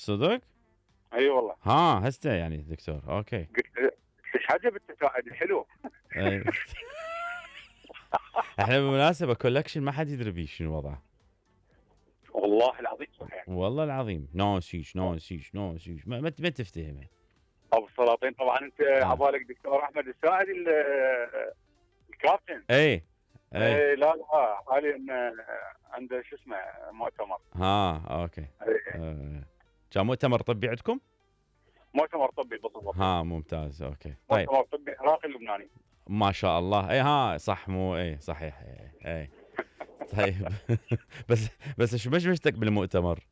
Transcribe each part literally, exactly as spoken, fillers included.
صدق؟ اي والله. ها هسه يعني دكتور اوكي. قلت ايش عجب التفاعل الحلو. أي. احنا بالمناسبه كولكشن ما حد يدري بيه شنو وضعه. والله العظيم صحيح. والله العظيم نو سيش نو سيش نو سيش ما, ما تفتهمه. ابو السلاطين طبعا انت آه. عبالك دكتور احمد الساعدي الكابتن. اي اي, أي لا لا حاليا عنده شو اسمه مؤتمر. ها اوكي. آه. كان مؤتمر طبي عندكم؟ مؤتمر طبي بالضبط. ها ممتاز اوكي. طيب مؤتمر طبي عراقي لبناني. ما شاء الله. اي ها صح مو اي صحيح اي, اي. طيب بس بس شو مشمشتك بالمؤتمر؟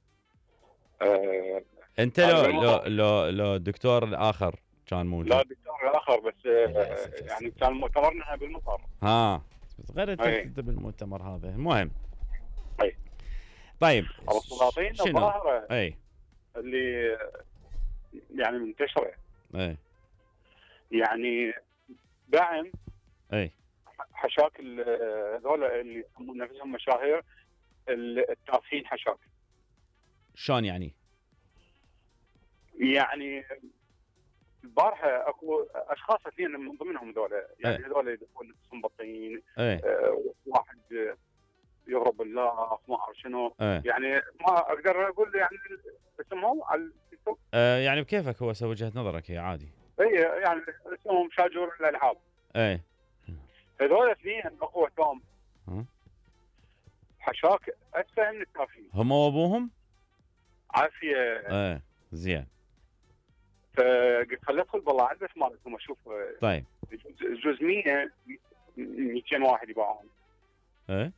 أه انت لو لو لو لو الدكتور الاخر كان موجود؟ لا الدكتور الاخر بس أه يعني كان مؤتمرنا بالمطار. ها بس غير انت بالمؤتمر هذا المهم. اي طيب ابو السلاطين الظاهره اي اللي يعني منتشره اي يعني دعم اي حشاك هذول اللي يسمون نفسهم مشاهير التافهين حشاك. شلون يعني؟ يعني البارحه اكو اشخاص اثنين من ضمنهم هذول يعني هذول يدخلون نفسهم بطين. آه واحد يغرب الله ما اعرف شنو. أي. يعني ما اقدر اقول يعني اسمهم على التيك توك. آه يعني بكيفك هو سوى وجهه نظرك هي عادي. اي يعني اسمهم شاجور الالعاب. اي هذول اثنين اخوتهم حشاك اتفه من التافهين. هم وابوهم؟ عافيه. ايه زين. فقلت خليني ادخل بالله عدس مالتهم اشوف. طيب جزء مية مئتين واحد يباعون. ايه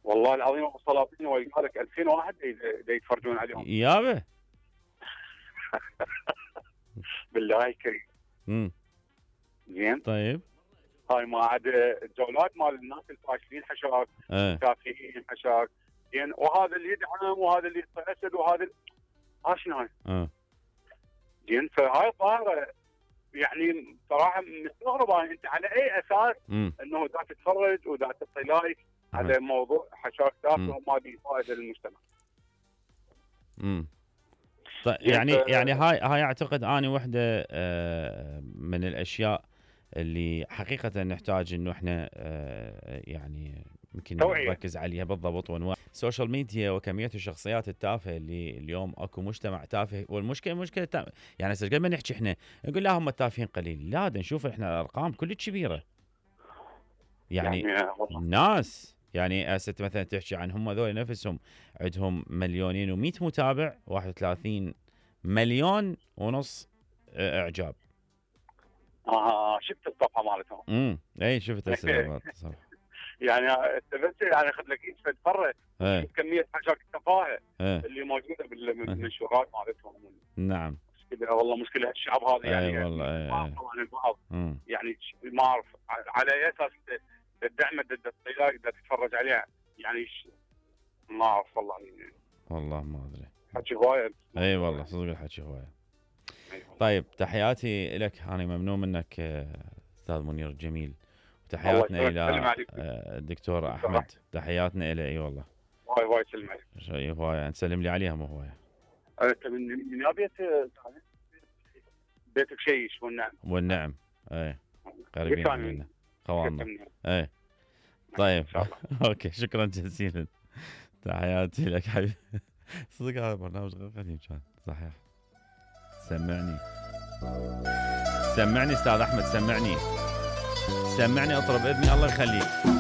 والله العظيم ابو السلاطين ويقالك ألفين واحد يتفرجون عليهم. يابا بالله الكريم. امم زين. طيب هاي ما عاد الجولات مال الناس الفاشلين حشاك. ايه كافيين حشاك. زين وهذا اللي يدعم وهذا اللي يتحسد وهذا ها شنو هاي؟ اه زين فهاي الظاهره يعني صراحه مستغربه انت على اي اساس مم. انه دا تتفرج ودا تعطي لايك على موضوع حشاك تافه وما بيه فائده للمجتمع. امم طيب يعني يعني هاي هاي اعتقد اني وحده من الاشياء اللي حقيقه نحتاج انه احنا يعني يمكن نركز عليها بالضبط. وانواع السوشيال ميديا وكميه الشخصيات التافهه اللي اليوم اكو مجتمع تافه. والمشكله مشكله تافه. يعني هسه قبل ما نحكي احنا نقول لا هم التافهين قليل. لا دا نشوف احنا ارقام كلش كبيره. يعني, يعني ناس يعني هسه مثلا تحكي عن هم ذول نفسهم عندهم مليونين ومئة متابع واحد وثلاثين مليون ونص اعجاب. اه شفت الصفحه مالتهم. امم اي شفت الصفحه. يعني انت بس يعني اخذ لك ايش تتفرج كميه حاجات التفاهه اللي موجوده بالمنشورات مالتهم. نعم مشكله والله مشكله الشعب هذا يعني. اي والله ما اعرف عن البعض يعني ما اعرف على اي اساس الدعم ضد الطلاق بدك تتفرج عليها يعني ما اعرف والله يعني. والله ما ادري حكي هوايه. اي والله صدق الحكي هوايه. طيب تحياتي لك انا ممنون منك استاذ منير الجميل. وتحياتنا الى الدكتور احمد. تحياتنا الى اي والله. واي واي سلم عليك. شيء هوايه نسلم لي عليها مو هوايه. انت من من بيت بيتك شيش والنعم. والنعم اي قريبين منا خواننا. اي طيب اوكي شكرا جزيلا. تحياتي لك حبيبي. صدق هذا برنامج غير قديم كان صحيح. سمعني سمعني استاذ احمد سمعني سمعني اطرب اذني الله يخليك.